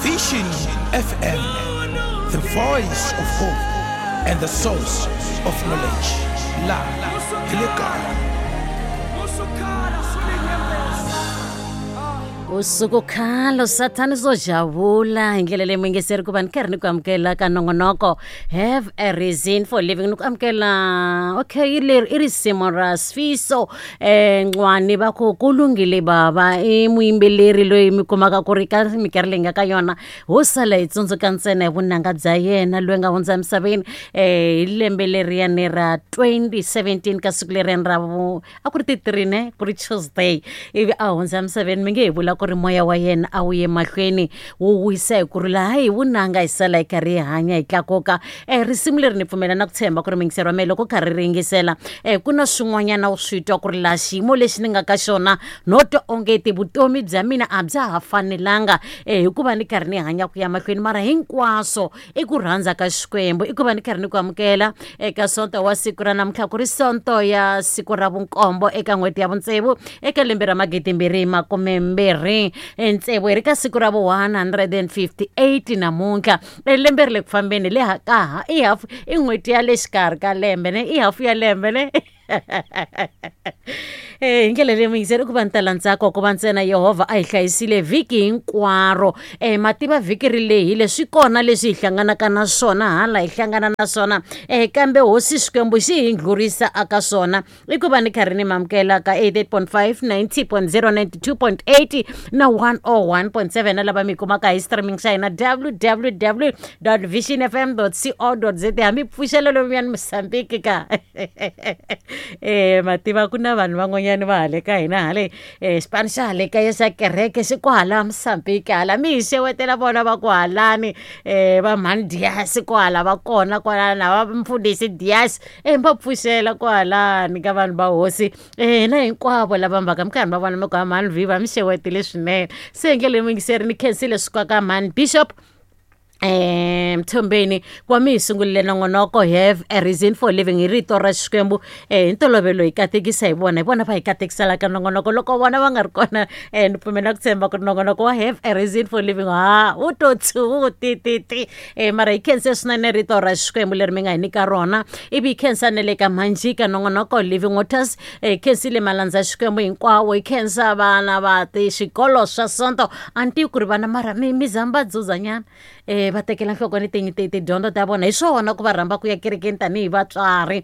Vision FM, the voice of hope and the source of knowledge. La hi le kaya. Usuku khalo sathani swo javula hi ndlela leyi muyingiseri ku va ni karhi ni ku amukela ka nongonoko have a reason for living ni ku amukela okay leri i risimu ra sfiso um ncwani va ku ku lunghile bava i muyimbeleri loyi mi kumaka ku ri ka minkarhi leyi nga ka yona ho sala hi tsundzuka ntsena hi vunanga bya yena loyi nga hundza emisaveni um hi lembe leriyani ra 2017 ka siku leriyani ra vu a ku ri ti-three ne ku ri tuesday ivi a hundza emisaveni mi nge hi vula ku ri moya wa yena a wu ye mahlweni wu wisa hi ku ri laha hi vunanga hi sala hi karhi hi hanya hi tlakuka um risimu leri ni pfumela na ku tshemba ku ri muyingiseri wa mehe loko karhi ri yingisela um ku na swin'wanyana u swi twa ku ri laha xiyimo lexi ni nga ka xona no twa ongeti vutomi bya mina a bya ha fanelanga um hikuva ni karhi ni hanya ku ya mahlweni mara hinkwaswo i ku rhandza ka xikwembu i ku va ni karhi ni ku amukela eka sonto wa siku ra namuntlha ku ri sonto ya siku ra vunkombo eka n'hweti ya vutsevu eka lembe ra magidimbirhi makumembirhi tsevu hi ri ka siku ra vu 158 namuntlha E lembe ri le ku fambeni le ha ka ha i hafu i n'hweti ya le xikarhi ka lembe ne i hafu ya lembe ne Eh, hi ndlela leyi muyingiseri ku va ni tala ntsako ku va ntsena yehovha a hi hlayisile vhiki hinkwaro um mativa vhiki ri lehile swi kona leswi hi hlanganaka na swona hala hi hlangana na swona um kambe hosi xikwembu xi hi ndlurisa aka swona I ku va ni karhi ni mamukela ka 88.5 90.0 92.8 na 101.7 na lava mi kumaka hi streaming xa hina www visionfm co za hambi pfuxela lomuyani mosambiki ka mativa ku na vanhu van'wanyana va hale ka hina hale xipano xa hale kaya xa kereke xi kwahala mosambiki hala mi hi xewetela vona va ku halani va mhani dias kwahala va kona kwala na va mfundhisi dias e va pfuxela kwahalani ka vanhu va hosi hina hinkwavo lava mbaka mi karhi va vona mi ku mhani viva mi xewetile swinene se hi ndlela yingiseri ni khensile swi ka mhani bishop Mthombeni ku va mi hi sungurile nongonoko have a reason for living hi rito ra Xikwembu hi ntolovelo hi katekisa hi vona hi vona va hi katekiselaka nongonoko loko vona va nga ri kona ni pfumela ku tshemba ku ri nongonoko wa have a reason for living ha wu to tshu ti ti ti mara hi khense swinene rito ra xikwembu leri mi nga hi nyika rona ivi hi khensa na le ka manjika nongonoko living waters hi khensile malandza ya xikwembu hinkwawo hi khensa vana va ti xikolo swa sonto a ni tivi ku ri vana mara mi mi zamba dzudzanyana va tekela nhlokweni tidyondzo ta vona hi swona ku va rhamba ku ya kerekeni tanihi vatswari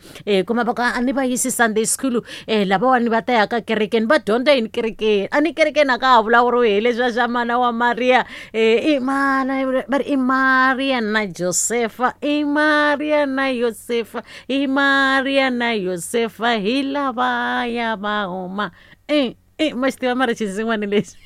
kuma va ku a ni va yisi sunday school lavawani va ta ya ka kerekeni va dyondza yini kerekeni a ni kerekeni a ka ha vulavuriwi hi leswiya swa mana wa mariya i mana va ri i Maria na Josefa i Maria na Yosefa i Maria na Yosefa hi lavaya va huma i ma xi tiva mara xinsin'wana lexi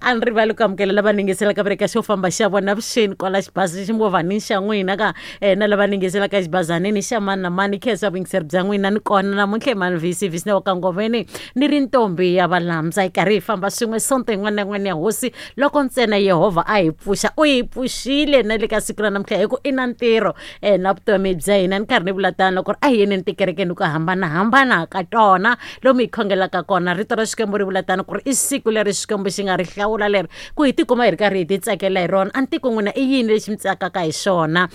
a ni rivali ku amukela lava ningiselaka va ri ka xo famba xa vona vuxeni kwala xibazi ximovhanini xa n'wina ka na lava ningiselaka xibazanini xa mani na mani khensa vuyingiseri bya n'wina ni kona namuntlha mani vc vc wa kangoveni ni ri ntombi ya valamza hi karhi hi famba swin'we sonto yin'wana na yin'wana ya hosi loko ntsena yehovha a hi pfuxa u hi pfuxile na le ka siku ra namuntlha hi ku i na ntirho na vutomi bya hina ni karhi ni vula tano ku ri a hi yeneni tikerekeni ku hambanahambana ka tona lomu hi khongelaka kona rito ra xikwembu ri vula tano ku ri i siku leri xikwembu xi nga ri hlawula leri ku hi tikuma hi ri karhi hi ti tsakela hi rona a ni tiku n'wina i yini lexi mi tsakaka hi xona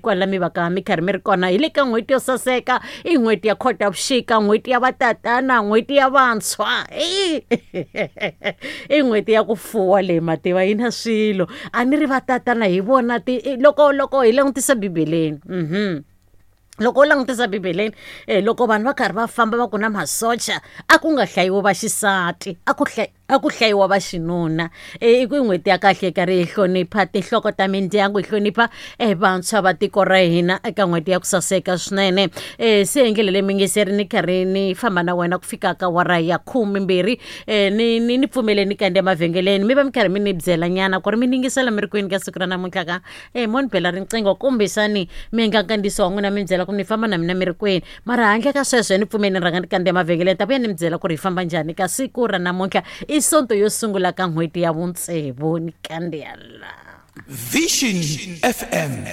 kwala mi va ka mi karhi mi ri kona hi le ka n'hweti yo saseka i n'hweti ya khotavuxika n'hweti ya vatatana n'hweti ya vantshwa i n'hweti ya ku fuwa leyi mativa yi na swilo a ni ri vatatana hi vona ti loko loko hi langutisa bibeleni loko u langutisa bibeleni loko vanhu va karhi va famba va ku na masocha a ku nga hlayiwi va xisati a ku hlayi a ku hlayiwa va xinuna i ku n'hweti ya kahle yi karhi yi hlonipha tinhloko ta mindyangu yi hlonipha vantshwa va tiko ra hina eka n'hweti ya ku saseka swinene se hi ndlela leyi muyingiseri ni karhi ni famba na wena ku fika ka wara ya khumimbirhi ni ni ni pfumele ni kandziya emavhengeleni mi va mi karhi mi ni byela nyana ku ri mi ningisela mi ri kwini ka siku ra namuntlha ka mo ni bela riqingho kumbexani mi endla nkandziyiso wa n'wina mi ni byela ku ni famba na mina mi ri kwini mara handle ka sweswo ni pfumeli ni rhanga ni kandziya mavhengeleni ta vuya ni mi byela ku ri hi famba njhani ka siku ra namuntlha i sonto yo sungula ka n'hweti ya vutsevu ni kandziya la Vision FM,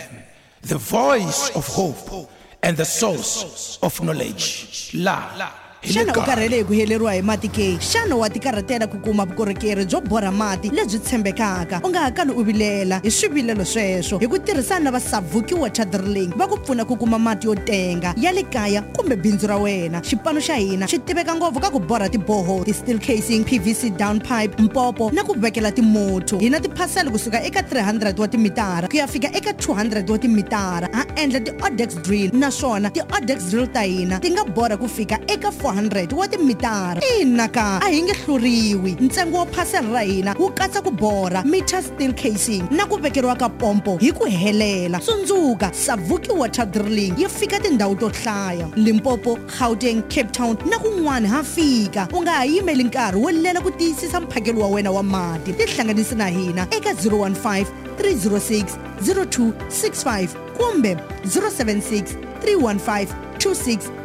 the voice of hope and the source of knowledge. La Hi le Xana u kaya. Karhele hi ku heleriwa hi mati ke? Xana wa tikarhatela ku kuma vukorhokeri byo borha mati lebyi tshembekaka? U nga ha kali u vilela hi swivilelo sweswo. Hi ku tirhisana na va Savuki Water Drilling, va ku pfuna ku kuma mati yo tenga ya le kaya kumbe bindzu ra wena. Xipano xa hina xi tiveka ngopfu ka ku borha tiboho, ti-steel casing, PVC down pipe, mpopo na ku vekela timotho. Hi na tiphasela kusuka eka 300 wa timitara ku ya fika eka 200 wa timitara. Ha endla ti-odex drill, naswona ti-odex drill ta hina ti nga borha ku fika eka 400 wa timitara. Ina ka, a hi nge hluriwi. Ntsengo wa phasela ra hina wu katsa ku borha, meter steel casing na ku vekeriwa ka pompo hi ku helela. Tsundzuka, Savuki Water Drilling yi fika tindhawu to hlaya: Limpopo, Gauteng, Cape Town na kun'wana ha fika. U nga ha yimeli nkarhi wo lela ku tiyisisa mphakelo wa wena wa mati. Tihlanganisi na hina eka 015 306 0265 kumbe 076 315 2680.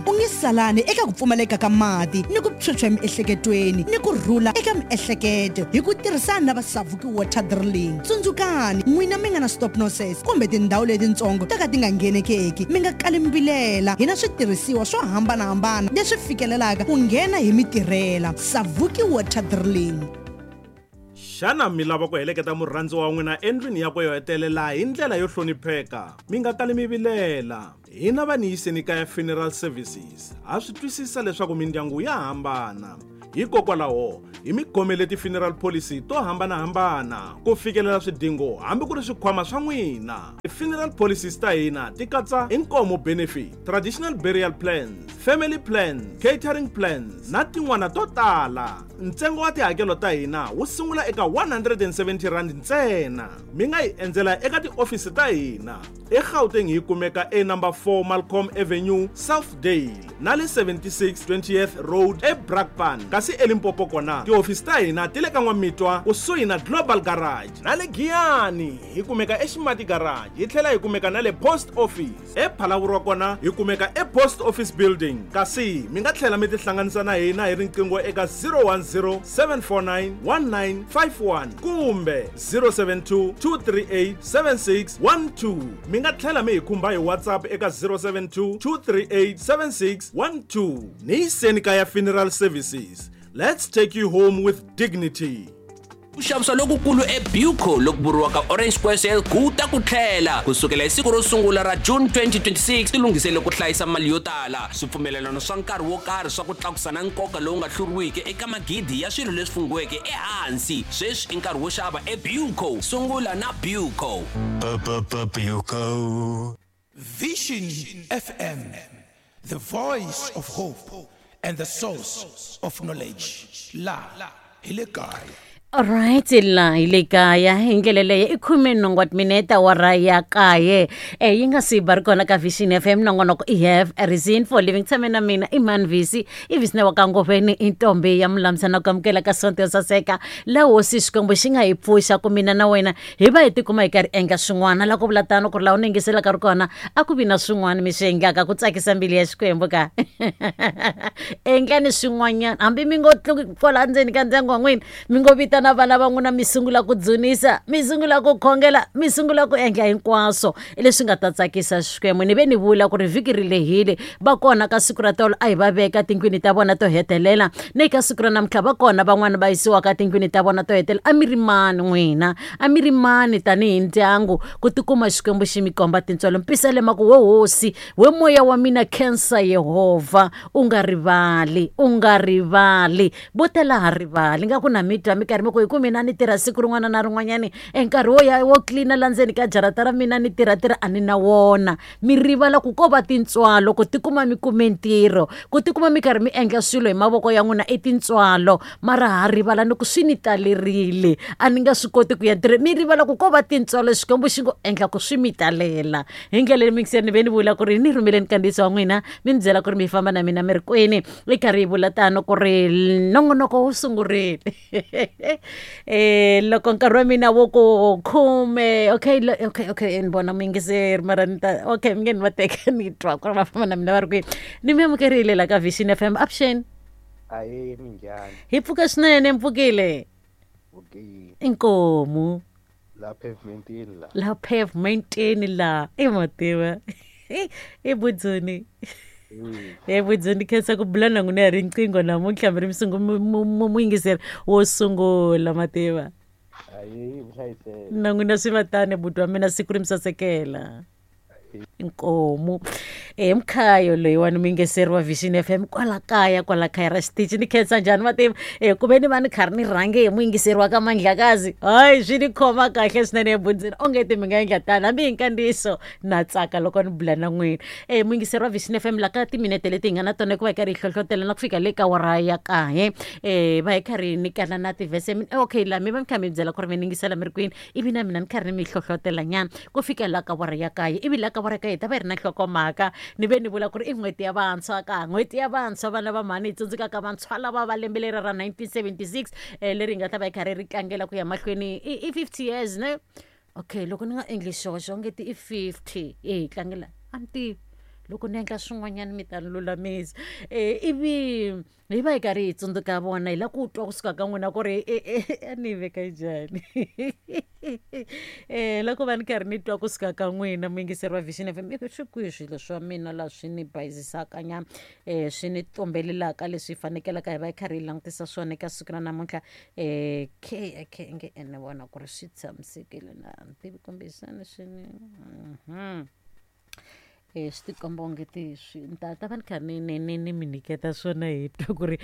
U nge salani eka ku pfumaleka ka mati ni ku phyuphya emiehleketweni ni ku rhula eka miehleketo hi ku tirhisana na va Savuki Water Drilling. Tsundzukani, n'wina mi nga na stop nonsense kumbe tindhawu letitsongo to ka ti nga nghenekeki, mi nga kali mi vilela. Hi na switirhisiwa swo hambanahambana leswi fikelelaka ku nghena hi mitirhela. Savuki Water Drilling. Xana mi lava ku heleketa murhandziwa wa n'wina endlwini yakwe yo hetelela hi ndlela yo hlonipheka? Mi nga kali mi vilela. Hina va Niyiseni Kaya Funeral Services ha swi twisisa leswaku mindyangu ya hambana. Hikokwalaho hi mi khomele ti-funeral policy to hambanahambana ku fikelela swidingo hambi ku ri swikhwama swa n'wina. Ti-funeral policies ta hina ti katsa inkomo benefit, traditional burial plans, family plans, catering plans na tin'wana to tala. Ntsengo wa tihakelo ta hina wu sungula eka R170 ntsena. Mi nga hi endzela eka tiofisi ta hina eGauteng, hi kumeka e number 4 Malcolm Avenue, Southdale, na le 76 20th Road eBrakpan. Kasi eLimpopo kona tihofisi ta hina ti le ka N'wamitwa kusuhi na Global Garage, na le Giyani hi kumeka eXimati Garage, hi tlhela hi kumeka na le Post Office ePhalavurwa, kona hi kumeka ePost Office Building. Kasi mi nga tlhela mi tihlanganisa na hina hi riqingho eka 010 749 1951 kumbe 072 238 7612. Mi nga tlhela mi hi khumba hi WhatsApp eka 072 238 7612. Niyiseni Kaya Funeral Services, let's take you home with dignity. Ku xavisa lokukulu eBuco loku vuriwaka Orange Square Sale ku ta ku tlhela kusukela hi siku ro sungula ra June 2026. Tilunghisele ku hlayisa mali yo tala, swipfumelelano swa nkarhi wo karhi swa ku tlakusa na nkoka lowu nga hluriwiki eka magidi ya swilo leswi fungiweke ehansi. Sweswi i nkarhi wo xava eBuco. Sungula na Buco. Buco. Vision FM, the voice of hope and the source of knowledge. La, hi le kaya. Alright, la hi le kaya hi ndlela leyo i 18 wa timinete awara ya kaye yi nga si ba ri kona ka Vision FM. Nongonoko i Have a Reason for Living. Tshame na mina i Manvisi, i Visina wa Kangoveni, i ntombi ya mulamisa, na ku amukela ka sonto yo saseka laha hosi Xikwembu xi nga hi pfuxa ku mina na wena hi va hi tikuma hi karhi endla swin'wana. La ku vula tano ku ri laha u ni yingiselaka ri kona a ku vi na swin'wana mi swi endlaka ku tsakisa mbilu ya Xikwembu ka. Endlani swin'wanyana, hambi mi ngo tluki kwala ndzeni ka ndyangu wa n'wina, mi ngo vitana vana va n'wina, mi sungula ku dzunisa, mi sungula ku khongela, mi sungula ku endla hinkwaswo leswi nga ta tsakisa Xikwembu. Ni ve ni vula ku ri vhiki ri lehile, va kona ka siku ra tolo a hi va veka tindlwini ta vona to hetelela, ni ka siku ra namuntlha va kona van'wani va yisiwaka tindlwini ta vona to hetelela. A mi ri mani n'wina? A mi ri mani tanihi ndyangu ku tikuma Xikwembu xi mi komba tintswalo? Mpisalema ku we hosi, we moya wa mina, khensa Yehovha, u nga rivali, u nga rivali. Vo tala ha rivali nga ku na mi twa mi karhi mi ku hi ku mina ni tirha siku rin'wana na rin'wanyani, e nkarhi wo ya wo tlilina la ndzeni ka jarata ra mina ni tirhatirha a ni na wona. Mi rivala ku ko va tintswalo ku tikuma mi kume ntirho, ku tikuma mi karhi mi endla swilo hi mavoko ya n'wina i tintswalo, mara ha rivala ni ku swi ni talerile, a ni nga swi koti ku ya ntirhweni. Mi rivala ku ko va tintswalo Xikwembu xi ngo endla ku swi mi talela. Hi ndlela leyi mingiseni ni ve ni vula ku ri ni rhumeleni kandziyiso wa n'wina, mi ni byela ku ri mi famba na mina mi ri kwini. I karhi yi vula tano ku ri nongonoko wu sungurile loko nkarhi wa mina wo ku khume. Okay, okay, ni vona muyingiseri, mara ni ta, okay, mi nge ni va teka ni twa ku ri va famba na mina va ri kwini. Ni mi amukerile la ka Vision FM. Avuxeni. Ahee, minjhani? Hi pfuka swinene. Mpfukile? Okay. Inkomu. La pavementini la. La pavementini la i mativa i budzuni. E budzo ni khensa ku bula na n'wina hi riqingho namuntlha mi ri muyingiseri wo sungula mativa. Ayi vuhlayiseki. Na n'wina swi va tani buti wa mina, siku ri mi sasekela. Inkomu e mkhayo loyiwani muyingiseri wa Vision FM kwala kaya, kwala kaya ra xitichi. Ni khensa njhani mativa e ku ve ni va ni karhi ni rhange hi muyingiseri wa ka Mandlakazi. Hayi, swi ni khoma kahle swinene ebundzini, onge ti mi nga endla tani hambi hi nkandziyiso. Na tsaka loko ni bula na n'wina e muyingiseri wa Vision FM. La ka timinete leti hi nga na tona hikuva hi karhi hi hlohlotela na ku fika le ka wara ya kaye e va hi karhi hi nyikana na tivhese. Okay, la mi va mi kha mi byela ku ri mi ningisela mi ri kwini, ivi na mina ni karhi ni mi hlohlotela nyana ku fika la ka wara ya kaye. Ivi la ka wara ya kaye hi ta va hi ri na nhlokomhaka. Ni ve ni vula ku ri i n'hweti ya vantshwa, ka n'hweti ya vantshwa vana va mhani hi tsundzukaka vantshwa lava va lembe leri ra 1976 leri hi nga ta va hi karhi ri tlangela ku ya mahlweni i 50 years ne. Okay, loko ni nga endli xoxo onge ti i 50 e hi tlangela, a ni tivi, loko ni endla swin'wanyana mi ta ni lulamisa. Ivi hi va hi karhi hi tsundzuka vona, hi la ku twa kusuka ka n'wina ku ri a ni yi veka njhani loko va ni karhi ni twa kusuka ka n'wina muyingiseri wa Vision FM. Ivi swi kwihi swilo swa mina la swi ni bayizisaka nyana, swi ni tumbelelaka leswi fanekelaka hi va hi karhi hi langutisa swona eka siku ra namuntlha? K okay, nge ni vona ku ri swi tshamisekile na ni tivi kumbexana swi ni swi tikomba onge ti swi ni ta ta va ni kha ni ni ni ni mi nyiketa swona hi twa ku ri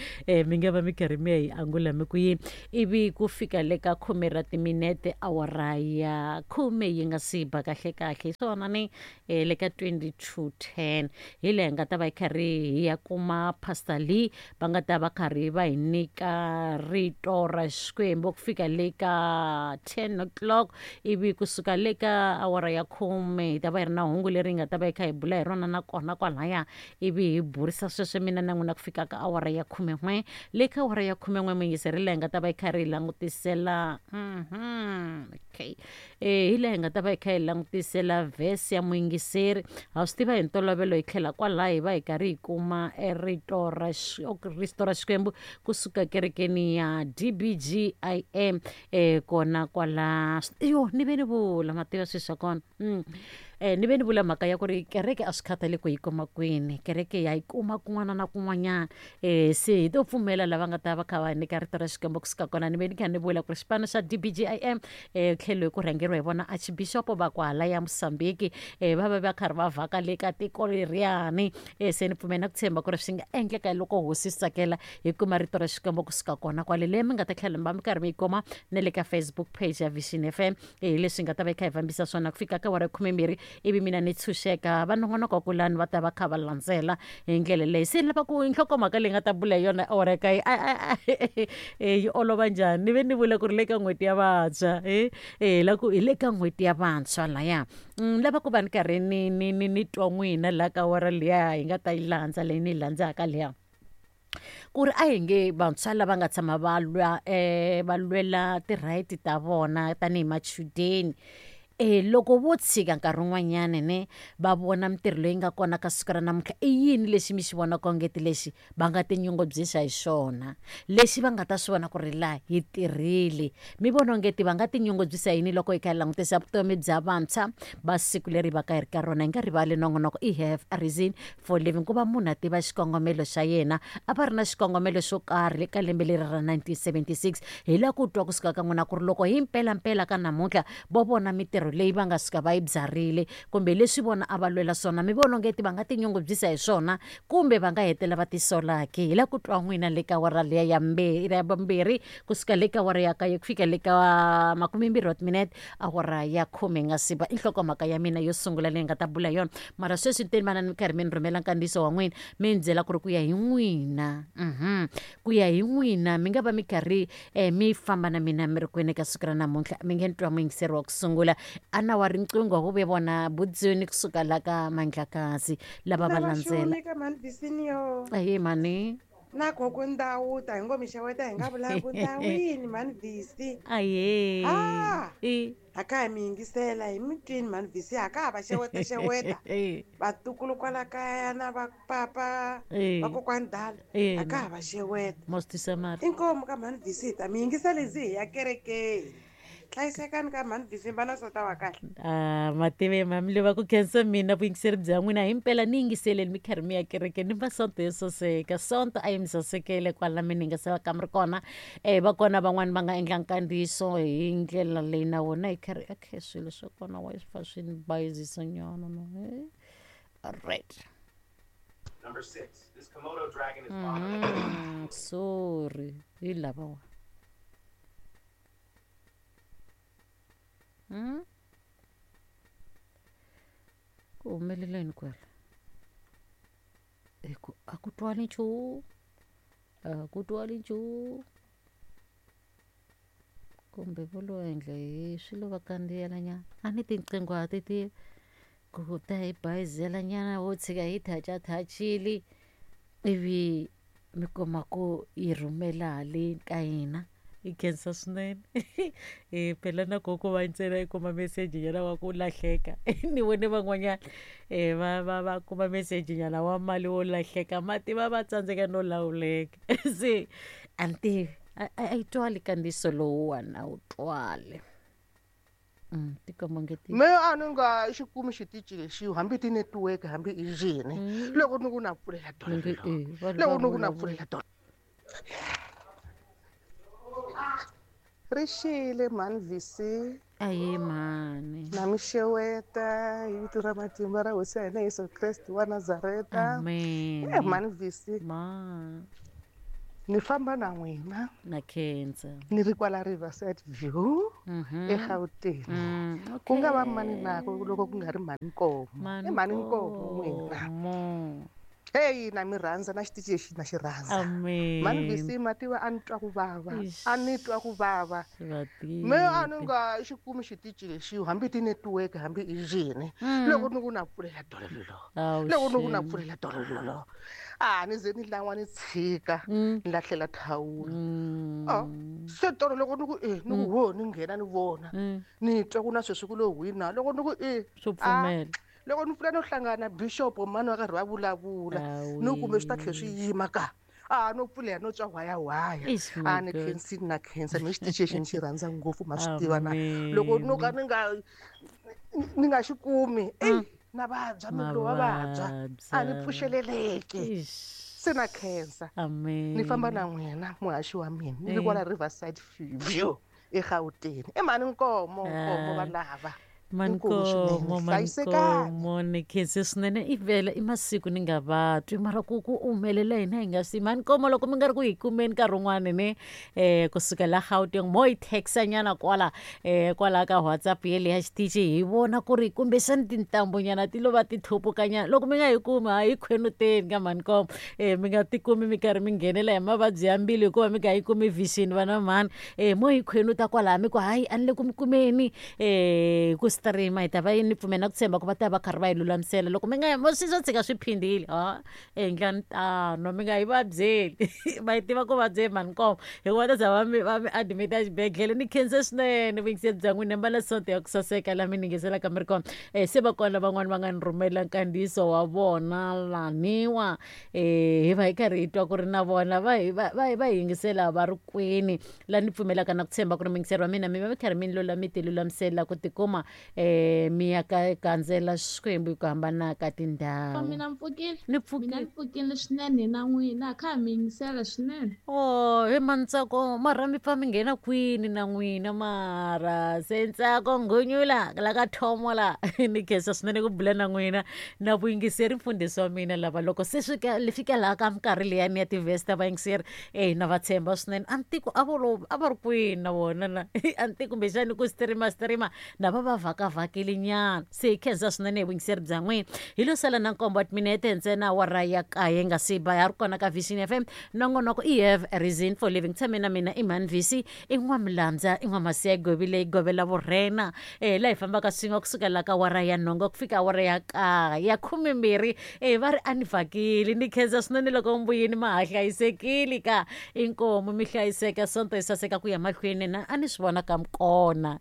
mi nga va mi karhi mi ya hi angula mi ku yini. Ivi ku fika le ka khume ra timinete awara ya khume yi nga si ba kahle kahle, hi swona ni le ka 22:10 hi leha hi nga ta va hi karhi hi ya kuma Pastor Lee, va nga ta va karhi va hi nyika rito ra Xikwembu ku fika le ka 10 o'clock. Ivi kusuka le ka awara ya khume hi ta va hi ri na hungu leri hi nga ta va hi kha hi bula hi rona na kona kwalaya, ivi hi burisa sweswo mina na n'wina ku fika ka awara ya khumen'we. Le ka awara ya khumen'we muyingiseri laha hi nga ta va hi karhi hi langutisela okay, hi laha hi nga ta va hi kha hi langutisela vhesi ya muyingiseri. Ha swi tiva hi ntolovelo hi tlhela kwalaho hi va hi karhi hi kuma rito ra rito ra Xikwembu kusuka kerekeni ya DBGIM kona kwala. Yo ni ve ni vula mativa swilo swa kona. Ni ve ni vula mhaka ya ku ri kereke a swi khathali ku yi kuma kwini, kereke ya yi kuma kun'wana na kun'wanyana. Se hi to pfumela lava nga ta va kha va nyika rito ra Xikwembu kusuka kona. Ni ve ni kha ni vula ku ri xipano xa DBGIM tlhelo hi ku rhangeriwa hi vona archbishop va kwala ya Mosambiki, va va va karhi va vhaka le ka tiko leriyani. Se ni pfumela na ku tshemba ku ri swi nga endleka loko hosi swi tsakela hi kuma rito ra Xikwembu kusuka kona kwale, leyi mi nga ta tlhela mi va mi karhi mi yi kuma na le ka Facebook page ya Vision FM. Hi leswi nga ta va hi kha hi fambisa swona ku fika ka wara ya khumembirhi, ivi mina ni tshunxeka, va nongonoko kulani va ta va kha va landzela hi ndlela leyi. Se ni lava ku nhlokomhaka leyi nga ta bula hi yona awara ya kaye yi olova njhani. Ni ve ni vula ku ri le ka n'hweti ya vantshwa, la ku hi le ka n'hweti ya vantshwa laya, ni lava ku va ni karhi ni ni ni ni twa n'wina la ka awara liya hi nga ta yi landza, leyi ni yi landzaka liya, ku ri a hi nge vantshwa lava nga tshama va lwa va lwela ti-right ta vona tanihi machudeni, loko vo tshika nkarhi wun'wanyani ne va vona mintirho leyi nga kona ka siku ra namuntlha, i yini lexi mi xi vonaka ongeti lexi va nga tinyungubyisa hi xona, lexi va nga ta swi vona ku ri laha hi tirhile? Mi vona ongeti va nga tinyungubyisa yini loko hi kha hi langutisa vutomi bya vantshwa va siku leri va ka hi ri ka rona? Hi nga rivali nongonoko i Have a Reason for Living, ku va munhu a tiva xikongomelo xa yena. A va ri na xikongomelo xo karhi le ka lembe leri ra 1976. Hi lava ku twa kusuka ka n'wina ku ri loko hi mpelampela ka namuntlha vo vona mintirho leyi va nga suka va yi byarile kumbe leswi vona a va lwela swona, mi vona ongeti va nga tinyungubyisa hi swona kumbe va nga hetelela va tisola ke? Hi lava ku twa n'wina le ka awara liya ya ya vumbirhi, kusuka le ka awara ya kaye ku fika le ka makumembirhi wa timinete awara ya khume nga siba. I nhlokomhaka ya mina yo sungula leyi nga ta bula yona. Mara sweswi ni teni vana ni karhi mi ni rhumela nkandziyiso wa n'wina, mi ni byela ku ri ku ya hi n'wina, ku ya hi n'wina mi nga va mi karhi mi famba na mina mi ri kwini ka siku ra namuntlha. Mi nge ni twa muyingiseri wa ku sungula a na wa riqingho ku ve vona Budzuni kusuka la ka Mandlakazi lava va landzela. Ahe mhani. Na gogo Ndhawu ta hi ngo mi xeweta hi nga vulanga ku ndhawini mhani Visi. Ahe. Ah! I. A ka ha mi yingisela hi mi twini mhani Visi, a ka ha va xeweta xeweta vatukulu kwala kaya na va papa vakokwani dala, a ka ha va xeweta. Most tisa mali. Inkomu ka mhani Visi, hi ta mi yingisela hi ze hi ya kerekeni. Hlayisekani ka mhani December na sota wa kahle. Ah, mative mami lova ku khensa mina vuyingiseri bya n'wina himpela ni yingiseleni mi karhi mi ya kerekeni ni masonto yo saseka sonto a yi mi sasekele kwala mi ni yingiselaka mi ri kona um va kona van'wani va nga endla nkandziyiso hi ndlela leyi na wona hi karhi okay swilo swa kona wa swi fa swi ni bayizisa nyana no alright. Number 6. This Komodo dragon is Sorry hi lavawa. Ku humelela yini kwala? Hi ku a ku twali nchumu, a ku twali nchumu. Kumbe vo lo endla hi swilo va kandziyela nyana. A ni tinqingho ha ti tivi ku ta hi bayizela nyana wo tshika hi thachathachile ivi mi kuma ku yi rhumela haleni ka hina. Hi khensa swinene. Phela na koho ko va ntsena i kuma meseji nyana wa ku lahleka ni vone van'wanyana va va va kuma meseji nyana wa mali wo lahleka ma tiva va tsandzeka no lawuleka se a ni tivi a yi twali nkandziyiso lowuwani a wu twali. Tikomba onge ti Me a ni nga xi kumi xitichi lexi hambi ti-network hambi i yini loko ni ku na pfulela Ni nge dololo e vanhu loko va ni ku na vulavula. pfulela dololo. Ri xile mhani VC. Ahee mhani. Na mi xeweta hi vito ra matimba ra hosi ya hina Yesu Kreste wa Nazareta. Amen. Eh mhani VC. Ma. Ni famba na n'wina. Na khensa. Ni ri kwala Riverside View eGauteng. Ku nga va mani na ku loko ku nga ri mhani Nkomo. I mhani Nkomo n'wina. Nkomo. Heyi na mi rhandza na xitichi lexi na xi rhandza. Amen. Mhani VC ma tiva a ni twa ku vava. Eish. A ni twa ku vava. Va Me a ni tivi. nga xi kumi xitichi lexi hambi ti-network hambi i yini loko ni ku na pfulela dololo Awu loko ni ku na shame. pfulela dololo a ni ze ni lan'wa ni tshika ni lahlela thawula. Se tolo loko ni ku e ni ku ho ni nghena ni vona ni twa ku na sweswi ku lo wina loko ni ku e Swo pfumela. loko ni pfula no hlangana bishop mani va karhi va vulavula ni kumbe swi ta tlhela swi yima ka a no pfulela no twa whaya whaya. Eish, A my ni God. khensini na khensa me xitichi lexi ni xi rhandza ngopfu ma swi tiva na loko no ka Amen. ni nga ni nga xi kumi eyi na vabya miri lowu wa vabya a ni Mavabya. pfuxeleleki Eish. se na khensa. Amen. Ni famba na n'wina muhaxi wa mina ni ri kwala Riverside View eGauteng. I mhani Nkomo Nkomo va lava. Inkomu swinene Mankomo hlayisekani. mankomo ni khense swinene i vhela i masiku ni nga va twi mara ku ku humelela hina hi nga swi mankomo loko mi nga ri ku hi kumeni nkarhi wun'wani ne kusuka la Gauteng mo hi text nyana kwala kwala ka WhatsApp yeleya xitichi hi vona ku ri kumbexani tintambu nyana ti lo va ti thopuka nyana loko mi nga hi kumi ha hi khwenuteni ka mankomo mi nga tikumi mi karhi mi nghenela hi mavabyi ya mbilu hikuva mi nga yi kumi vision vana mhani mo hi khwenuta kwalaha mi ku hayi a ni le ku mi kumeni ku stream hi ta va ni pfumela ku tshemba ku va ta va karhi va yi lulamisela loko mi nga mo swi swo tshika swi phindile ha endlani tano mi nga yi vabyeli va yi tiva ku vabyeli mhani Nkomo hikuva ta za va mi va mi admit-a exibedhlele ni khense swinene vuyingiseri bya n'wina mbala sonto ya ku saseka laha mi ni yingiselaka mi ri kona se va kona van'wani va nga ni rhumela nkandziyiso wa vona laniwa hi va hi karhi hi twa ku ri na vona va hi va va va hi yingisela va ri kwini laha ni pfumelaka na ku tshemba ku ri muyingiseri wa mina mi va mi karhi mi ni lula mi ti lulamisela ku tikuma mi ya ka gandzela Xikwembu hi ku hambana ka tindhawu. Mina mpfukile. Ni pfukile. Mina ni pfukile swinene na n'wina kha mi yingisela swinene. Oh, he Mantsako mara mi pfa mi nghena kwini na n'wina mara se Ntsako Ngunyula la ka thomo la ni khensa swinene ku bula na n'wina na vuyingiseri mfundhisi wa mina lava loko se swi ka li fika laha ka minkarhi liyani ya tivhesi ta vayingiseri na va tshemba swinene a ni tiku a vo lo a va ri kwini na vona na a ni tiku kumbexani ku streama streama na va va vhakavhakile nyana se hi khensa swinene hi vuyingiseri bya n'wina hi lo sala na nkombo wa timinete ntsena awara ya kaye nga si ba ya ri kona ka Vision FM nongonoko i have a reason for living tshame na mina i mhani VC i n'wamilandza i n'wamasiya govile i govela vurhena laha hi fambaka swin'we kusukela ka awara ya nhungu ku fika awara ya kaye ya 12 va ri a ni vhakile ni khensa swinene loko mbuyini ma ha hlayisekile ka inkomu mi hlayiseka sonto yi saseka ku ya mahlweni na a ni swi vona ka mikona.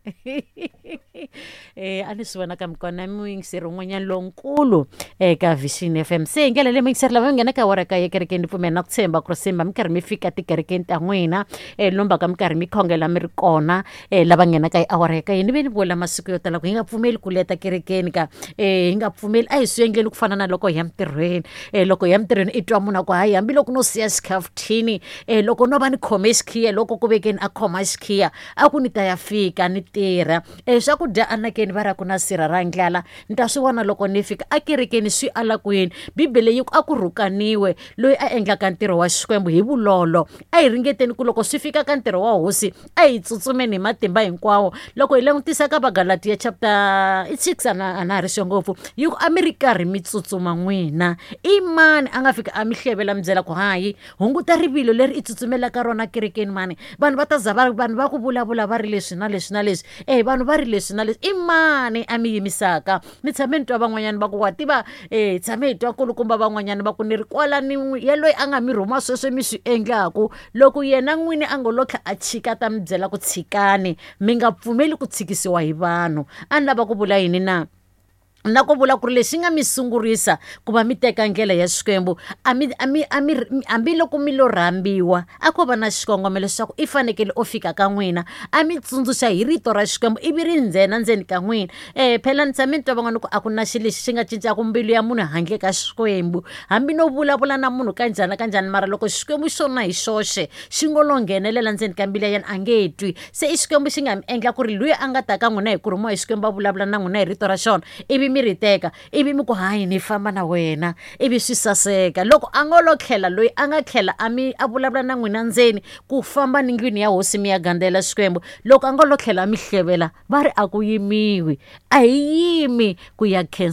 A ni swi vona ka mikona muyingiseri un'wanyana lonkulu eka Vision FM. Se hi ndlela leyi muyingiseri lava mi nghena ka awara ka ya kerekeni, ni pfumela na ku tshemba ku ri simba mi karhi mi fika tikerekeni ta n'wina, lombaka mi karhi mi khongela mi ri kona. Lava nghenaka hi awara ya ka ni ve ni vula masiku yo tala ku hi nga pfumeli ku leta kerekeni ka, hi nga pfumeli, a hi swi endleni ku fana na loko hi ya mintirhweni. Loko hi ya mintirhweni i twa munhu a ku hayi, hambiloko no siya xikhafuthini, loko no va ni khome xikhiya, loko ku vekeni a khoma xikhiya a ku ni ta ya fika ni tirha. Swakudya anakeni va ra ku na sirha ra ndlala, ni ta swi vona loko ni fika akerekeni. Swi ala kwini? Bibele yi ku a ku rhukaniwe loyi a endlaka ntirho wa Xikwembu hi vulolo. A hi ringeteni ku loko swi fika ka ntirho wa Hosi a hi tsutsumeni hi matimba hinkwawo. Loko hi langutisa ka Vagalatiya chapter 6, a na ha ri sure ngopfu, yi ku a mi ri karhi mi tsutsuma n'wina, i mani a nga fika a mi hlevela mi byela ku hayi, hunguta rivilo leri i tsutsumelaka rona kerekeni mani, vanhu va ta za va vanhu va ku vulavula va ri leswi na leswi na leswi, vanhu va ri leswi na leswi, i mani a mi yimisaka? Ni tshame ni twa van'wanyana va ku wa tiva, tshame hi twa kulukumba van'wanyana va ku ni ri kwala ni ya loyi a nga mi rhuma sweswo mi swi endlaku, loko yena n'wini a ngo lo tlha a chika ta mi byela ku tshikani, mi nga pfumeli ku tshikisiwa hi vanhu. A ni lava ku vula yini na? Na ku vula ku ri lexi nga mi sungurisa ku va mi teka ndlela ya Xikwembu, a mi a mi a mi hambiloko mi lo rhambiwa, a ko va na xikongomelo xa ku i fanekele o fika ka n'wina a mi tsundzuxa hi rito ra Xikwembu, ivi ri ndzhena ndzeni ka n'wina. Phela ni tshame ni twa van'wana ku a ku na xilo lexi xi nga cincaka mbilu ya munhu handle ka Xikwembu. Hambi no vulavula na munhu kanjhani na kanjhani, mara loko Xikwembu xona hi xoxe xi ngo lo nghenelela ndzeni ka mbilu ya yena, a nge twi. Se i Xikwembu xi nga mi endla ku ri luya a nga ta ka n'wina hi ku rhumiwa hi Xikwembu a vulavula na n'wina hi rito ra xona, ivi mi ri teka, ivi mi ku hayi, ni famba na wena, ivi swi saseka. Loko a ngo lo tlhela loyi a nga tlhela a mi a vulavula na n'wina ndzeni ku famba ni ndlwini ya Hosi mi ya gandzela Xikwembu, loko a ngo lo tlhela a mi hlevela, va ri a ku yimiwi, a hi yimi ku ya khensa.